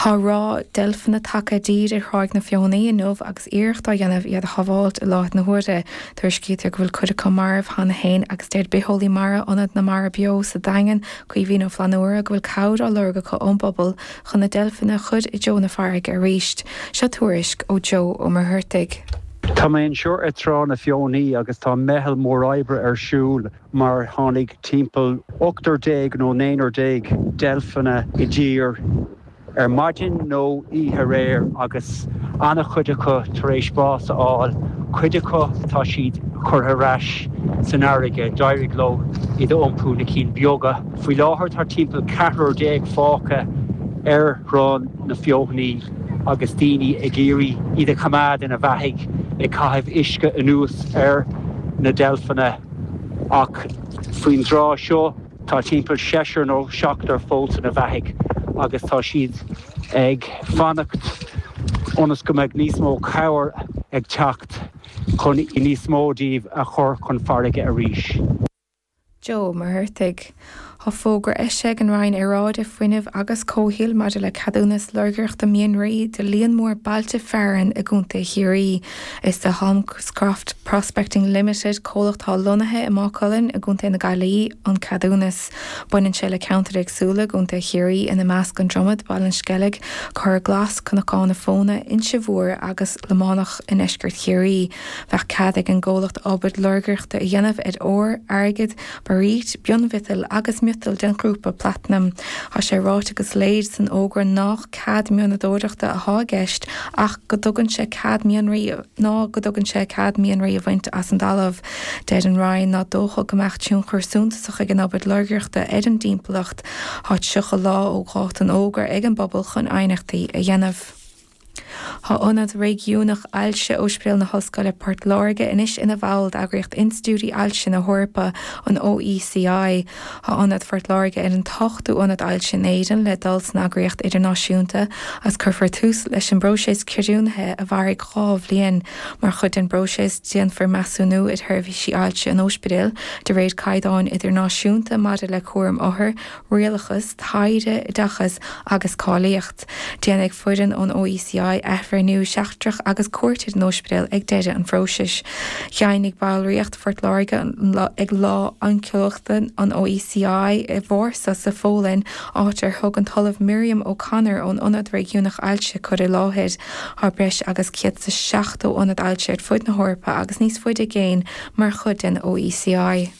Tá ráth deilfeanna tagtha i dtír ar Thráigh na Feothanaí inniu agus iarracht á dhéanamh iad a shábháilt i láthair na huaire. Tuairiscítear go bhfuil cuid acu marbh cheana féin agus deir bitheolaí mara Ionad na Mara Beo sa Daingean, Caoimhín Ó Flannúra, go bhfuil cabhair á lorg acu ón bpobal chun na deilfeanna a chur i dtreo na farraige arís. Seo tuairisc ó Joe Ó Muircheartaigh. Tá mé anseo ar Trá na Feothanaí agus tá meitheal mór oibre ar siúl mar tháinig timpeall ochtar déag nó naonúr déag deilfeanna i dtír ar maidin nó oíche aréir agus an-chuid acu tar éis bás a fháil, cuid acu tá siad curtha ar ais san fharraige, d'éirigh leo iad a iompú, na cinn beaga. Faoi láthair tá timpeall ceathrar déag fágtha ar Thrá na Feothanaí agus daoine ag iarraidh iad a choimeád ina bheathaigh, ag caitheamh uisce anuas ar na deilfeanna. Ach faoin dtráth seo tá timpeall seisear nó seachtar fós ina bheathaigh agus tá siad ag fanacht ionas go mbeidh níos mó cabhair ag teacht chun níos mó díobh a chur chun farraige arís. Joe Ó Muircheartaigh. Tá fógra eisithe ag an Roinn Aeráide, Fuinnimh agus Comhshaoil maidir le ceadúnas lorgaireachta mianraí do líon mór bailte fearainn i gContae Chiarraí. Is do Holmescroft Prospecting Limited, comhlacht atá lonnaithe i Maigh Cuilinn i gContae na Gaillimhe, an ceadúnas. Baineann sé le ceantair éagsúla i gContae Chiarraí, ina measc An Dromad, Baile an Sceilg, Cora Glas, Cnocán na Fóna, Inse Mhór agus Lománach i ndeisceart Chiarraí. Bheadh cead ag an gcomhlacht obair lorgaireachta a dhéanamh ar ór, airgead, bairít, mionmhiotail agus miotail den ghrúpa platanaim. Tá sé ráite go soiléir san fhógra nách cead mianadóireachta atá i gceist ach go dtugann sé cead mianraí ná go dtugann sé cead mianraí a bhaint as an dtalamh. Deir an Roinn ná dócha go mbeadh tionchar suntasach ag an obair lorgaireachta ar an dtimpeallacht. Tá 30 lá ó dháta an fhógra ag an bpobal chun aighneachtaí a dhéanamh. Tá Ionad Réigiúnach Ailse Ospidéal na hOllscoile Port Láirge anois ina bhall d'Eagraíocht Institiúidí Ailse na hEorpa, an OECI. Tá Ionad Phort Láirge ar an t-ochtú ionad ailse in Éirinn le dul san eagraíocht idirnáisiúnta agus cuirfear tús leis an bpróiseas creidiúnaithe a mhairfidh 2 bhliain. Mar chuid den bpróiseas, déanfar measúnú ar sheirbhísí ailse an ospidéil de réir caighdeáin idirnáisiúnta maidir le cúram othar, rialachas, taighde, oideachas agus cáilíocht. Déanfaidh foireann ón OECI athbhreithniú seachtrach agus cuairt ar an ospidéal ag deireadh an phróisis. Dheimhnigh ballraíocht Phort Láirge ag Lá Oinceolaíochta an OECI i Vársá sa Pholainn, áit ar thug an tOllamh Miriam O'Connor ón Ionad Réigiúnach Ailse cur i láthair. Tá breis agus 170 ionad ailse ar fud na hEorpa agus níos faide i gcéin mar chuid den OECI.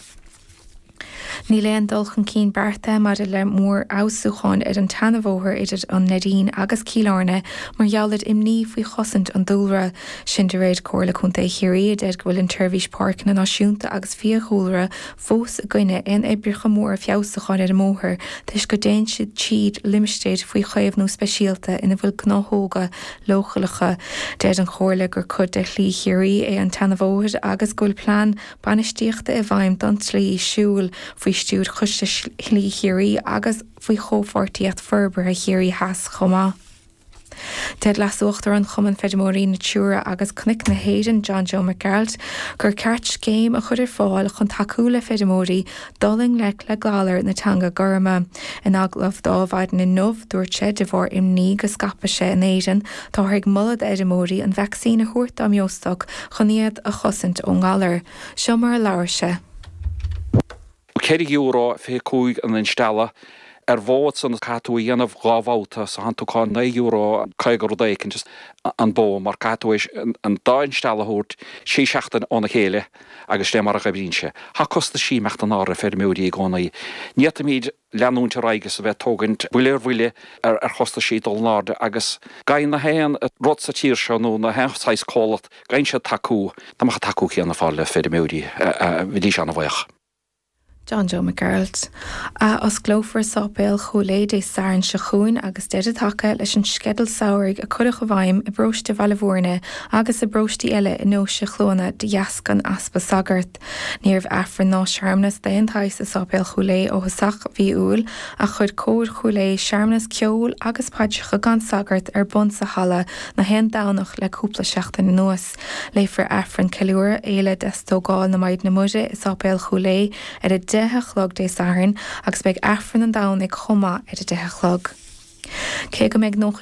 Níl aon dul chun cinn beartaithe maidir le mórfheabhsúcháin ar an tseanabhóthar idir an Neidín agus Cill Airne mar gheall ar imní faoi chosaint an dúlra. Sin de réir Comhairle Contae Chiarraí a deir go bhfuil an tSeirbhís Páirceanna Náisiúnta agus Fiadhúlra fós i gcoinne aon oibreacha móra feabhsúcháin ar an mbóthar toisc go dtéann siad tríd limistéir faoi chaomhnú speisialta ina bhfuil gnáthóga leochaileacha. Deir an Chomhairle gur cuid de Shlí Chiarraí é an tseanabhóthar agus go bhfuil plean bainistíochta i bhfeidhm don tslí siúil faoi stiúir Choiste Shlí Chiarraí agus faoi Chomhpháirtíocht Forbartha Chiarraí Theas chomh maith. Deir Leas-Uachtarán Chumann Feirmeoirí Natura agus Cnoic na hÉireann, John Joe Mac Gearailt, gur ceart scéim a chur ar fáil chun tacú le feirmeoirí dul i ngleic le galar na teanga gorma. In agallamh do Adhmhaidin inniu, dúirt sé, de bharr imní go scaipfidh sé in Éirinn, Táthar ag moladh d'fheirmeoirí an vacsaín a thabhairt dá mbeostoc chun iad a chosaint ón ngalar. Seo mar a labhair sé. €4 25 an instealladh ar bhó ansan caithfidh tú a dhéanamh dhá bhabhta so thánn tú ag caint €9 50 rud éicint an bó mar caithfidh tú an dá instealladh a thabhairt sé seachtain óna chéile agus sin é mar a dh'oibríonn sé. Thá costaisí ag imeacht in airde ar feirmeoirí i gcónaí. Ní fhéadfaimíd leanúint ar aghaidh is a bheith ag tógaint buille ar bhuille ar chostaisí dul in airde agus go na haon rud sa tír seo nó na haon saghas comhlacht, go gcaithfidh siad tacú, dá mbeadh an tacú céanna ar fáil le feirmeoirí, bheidís an-bhuíoch. John Joe Mac Gearailt. Athosclófar Sáipéal Chúil Aodha Dé Sathairn seo chugainn agus deireadh tagtha leis an sceideal samhraidh a cuireadh i bhfeidhm i bparóiste Bhaile Bhúirne agus i bparóistí eile i ndeoise Chluana de dheasca an easpa sagart. Ní raibh Aifreann ná searmanas d'aon tsaghas i Sáipéal Chúil Aodha ó thosach mhí Iúil ach chuir Cór Chúil Aodha searmanas ceoil agus paidreacha gan sagart ar bun sa halla na haon Domhnach le cúpla seachtain anuas. Léifear Aifreann Ceiliúradh Fhéile Deastógáil na Maighdine Muire i Sáipéal Chúil Aodha ar a 10 a chlog Dé Sathairn agus beidh Aifreann an Domhnaigh chomh maith ar a 10 a chlog. Cé go mbeidh 90.